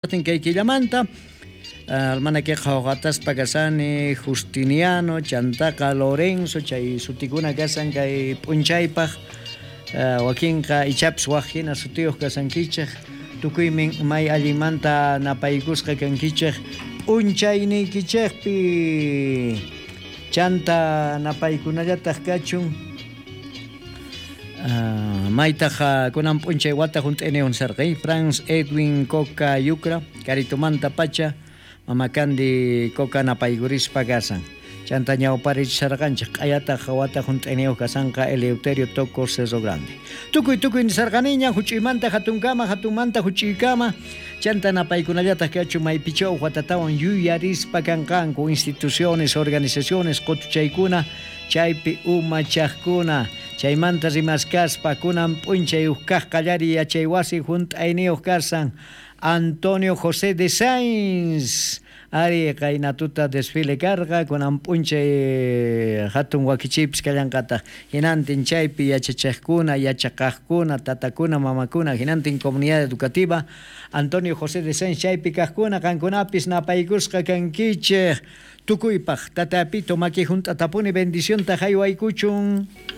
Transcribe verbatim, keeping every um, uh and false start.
Kay killamanta almanaqueqa hoqataspa kasani Justiniano, chantaqa Lorenzo, chay sutikuna kasan kay p'unchaypaq, wakinqa ichapis waj hina sutiyuq kasankichej, tukuymin may allinmanta napaykusqa kankichej p'unchayniykichejpi, chanta napaykunallataq kachun. Uh, maytaj kunan p'unchay wata junt'iniyun sarqay Franz Edwin Coca Yucra Caritumanta pacha Mamakandi Coca napaykurispa kasan, chanta ñawparichisarqanchej q'ayataq wata junt'iniyuq kasanqa Eleuterio Toco Cerro Grande. Tukuy tukuy nisarqaniña huch'uymanta hatunkama, hatunmanta huch'uykama, chanta napaykunallataq kachun maypichaw watatawan yuyarispa kanqanku instituciones, organizaciones, qutuchaykuna chaypi umachaqkuna, chaymanta rimaskaspa kunan p'unchay uj kaq qallariy yachaywasi junt'ayniyuq kasan Antonio José de Sainz. Ari qaynatuta desfile karqa kunan p'unchay hatun wakichiypis kallanqataq, hinantin chaypi yachachaqkuna, yachaqaqkuna, tatakuna, mamakuna, hinantin comunidad educativa Antonio José de Sainz chaypi kaqkuna qankunapis napaykusqa kankichej. Tukuypaq tatapito maki junt'atapuni bendicionta haywaykuchun.